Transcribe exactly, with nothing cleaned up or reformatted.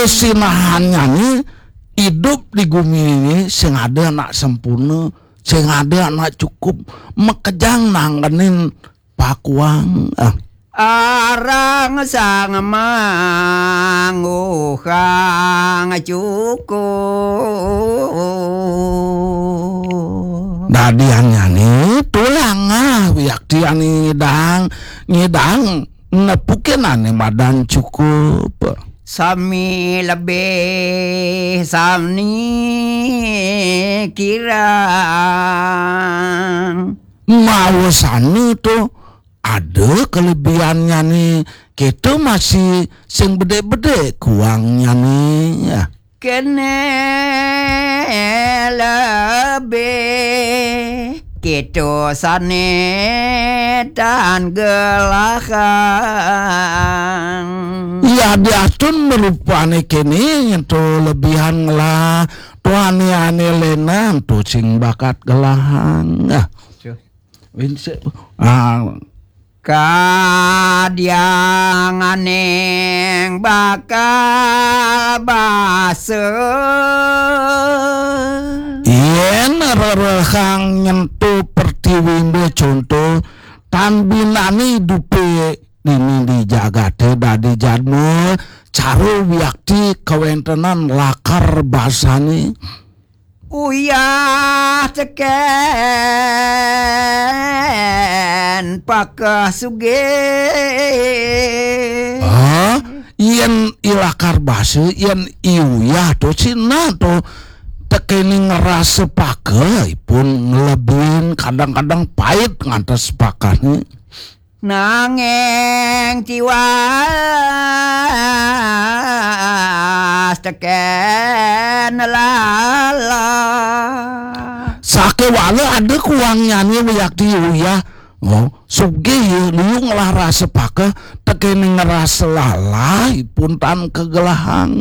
Sinahannyané idup di gumi ini sing ada anak sempurna, sing ada anak cukup, makejang nanggenin pakuang. Ah. Arang sang mangguhang cukup. Dadiannyané tulang ah wiakti ané ngidang, ngidang nepukin ané madan cukup. Sami lebih, sami kirang. Mawa sami to ada kelebihannyané, kéto masih sing bedé-bedé kuangnyané. Ya. Kéné lebih, kéto sané tan gelahang. Ya, diastun marupané kéné, yén to lebihan ngelah, to ané-ané lénan to sing bakat gelahang. Ah. Winsé. Ah. Kadianganing bakal basa. Yén rerehang nyentuh pertiwindé conto, tan binané idupé dini di jagaté dadi jadma, cara wiakti kawéntenan lakar basané. Uyah tekén pakeh sugih. Ah, yén i lakar basa, yén i uyah to, sina to tekéning rasa pakeh, ipun nglebihin kadang-kadang pait ngantos pakehné. Nanging tiwas tekén lalah. Sakéwala ada kuangnyané wiakti uyah. Oh, sugih ya, liu ngelah rasa pakeh, tekéning rasa lalah, ipun tan kagelahang.